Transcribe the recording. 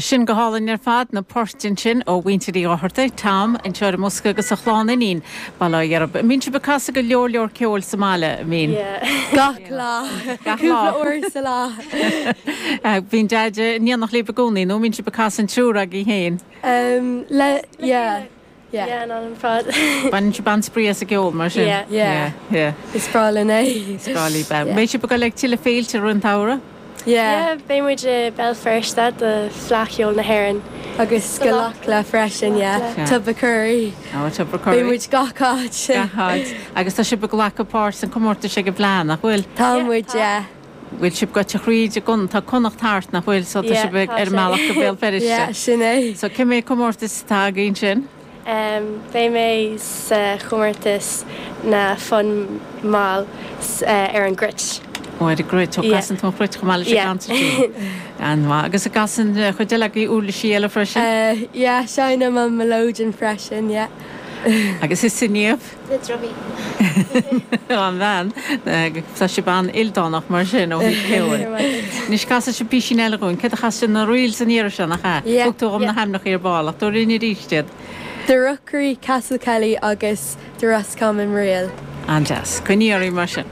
Sin go hálainn ar fad, na poirt ansin ó mhuintir Uí Dhochartaigh, Tom anseo ar an mbosca agus a chlann iníon, Bail ó Dhia oraibh. An mbíonn sibh ag casadh go leor leor ceoil sa mbaile, an mbíonn? Yeah. Gach lá. Gach lá. Cúpla uair sa lá. Bíonn Deaid in éineacht libh i gcónaí nó an mbíonn sibh ag casadh an triúr agaibh féin? Le, yeah. Yeah. Yeah, an am ar fad. Baineann sibh an-spraoi as an gceol, mar sin? Yeah. Yeah. Yeah. Is breá linn é. Is breá libh é. Beidh sibh ag dul ag tuilleadh féilte i rith an tsamhraidh? Yeah. Yeah, beidh muid i Béal Feirste do Fleadh Cheoil na hÉireann. Agus go Leamhcán freisin, yeah. Tubbercurry. Oh, Tubbercurry. Beidh muid gach áit. Gach áit. Agus tá sibh ag glacadh páirt san comórtas ag an bhFleadh, nach bhfuil? Tá muid, yeah. Bhfuil sibh gaibhte thríd i gCon, tá Connacht thart, nach bhfuil? So tá Yeah, sibh ag, tá ar an sé. mbealach go Béal Feirste. Yeah, sin é. So cé mhéad comórtas atá agaibh ansin? Em, beidh mé sa chomórtas na fonn mall s- eh, ar an gcruit. Ó, ar an gcruit. Ó, Yeah. casann tú an chruit chomh maith leis an Yeah. gconsairtín. An-mhaith. Agus an gcasann eh, cuid eile agaibh uirlisí eile freisin? Eh, yeah, seinnim an melodeon freisin, yeah. Agus thusa Niamh? Na drumaí. An bhean. Tá sibh an-ildánach mar sin ó thaobh ceoil. Anois casfaidh sibh písín eile dhúinn. Céard a chas sibh? Na Reels an iarraidh seo, nach ea? Yeah. Thug tú dhom na hainmneacha ar ball ach tabhair linn arís iad. The Rookery, Castle Kelly agus The Roscommon Reel. An-deas. Coinnigh oraibh mar sin.